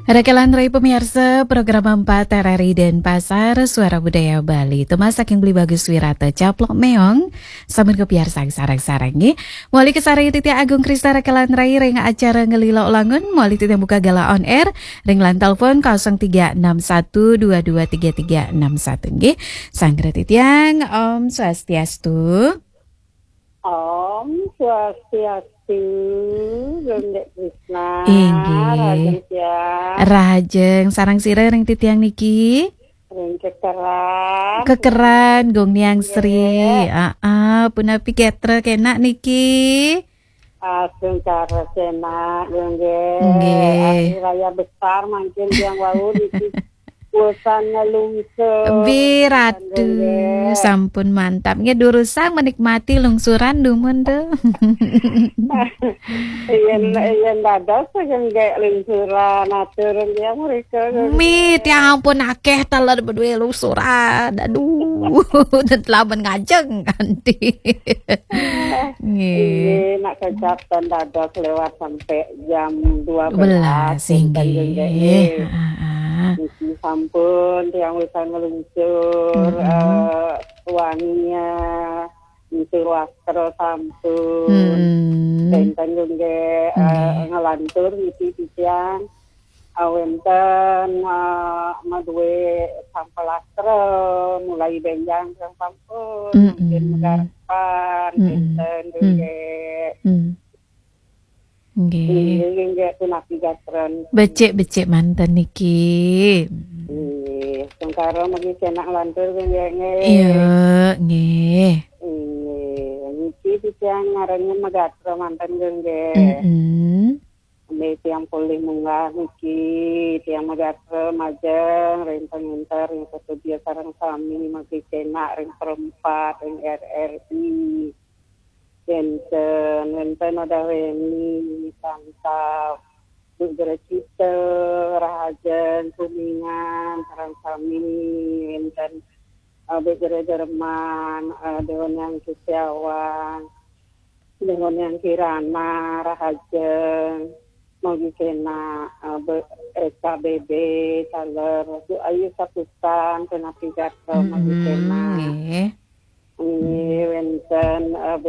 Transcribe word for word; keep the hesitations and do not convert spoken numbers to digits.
Rekan rai pemirsa program empat R R I Denpasar, Suara Budaya Bali. Temas saking Beli Bagus Wirata Caplok Meong, sampun kepiarsang sareng-sareng nggih. Muli kesareng titiang Agung Krista rekan rai ring acara Ngelilok Langun, muli titiang buka gala on air ring line telepon kosong tiga enam satu dua dua tiga tiga enam satu nggih. Sanggra titiang, Om Swastiastu. Om Swastiastu, Gung Dek Krisna. Inggih. Rahajeng tiang. Rahajeng, sareng sira ring titiang niki? Ring kekeran. Kekeran, Gung Niang Sri. Nggih. Aa, punapi gatra kenak niki? Asung cara kenak, Gung Dek. Nggih. Hari raya besar mangkin tiang wau niki. Wusan ngelungsur. Bi, Ratu, sampun mantap. Nggih, durusang menikmati lungsuran dumun tuh. Yen, yen dados sing nggih lungsuran, atur nggih mrika. Mi, tiang ampun akeh taler beduwe lungsuran. Aduh, dan telamen ngajeng kanti. Nggih. Nggih, nak kecap ten dados lewat sampai jam dua belas, Belas, wonten nggih. Nggih. Heeh. Niki sampun tiang wisan ngeluncur, Mm-mm. eh, wanginya, ngeluncur wastra sampun. Mm-mm. Wonten nggih, eh, Nggih. Ngelantur niki titiang, eh, wonten, eh, maduwe sampel wastra, mulai benjang sampun, Mm-mm. mungkin megarpan, Mm-mm. Wonten Mm. nggih. Mm. Nggih. Nggih, nggih, nggih, punapi gatran. Becik-becik manten niki. Nggih, sengkara mriki kenak lantur, nggih, nggih. Iya, nggih. Nggih, niki titiang ngarannya megatra manten, nggih. Mm-mm. Nggih, tiang polih munggah niki, tiang megatra majeng, ring panginter, ring setudia sareng sami, mriki kenak, ring perempat, ring R R I. Wenten, wenten Odah Weni, Santap, Bu Grecita, Rahajeng, Kuningan, sareng sami, wenten, eh, Bu Gere Jerman, eh, Dewan Yang Kisiawan, Dewan Yang Kirana, Rahajeng, Mogi Kena, eh, Bu Eka Bebe, Saler, Bu Ayu Saputan, Kena Pidato, Mogi Kena. Mm-mm, nggih. Nggih, wenten, eh,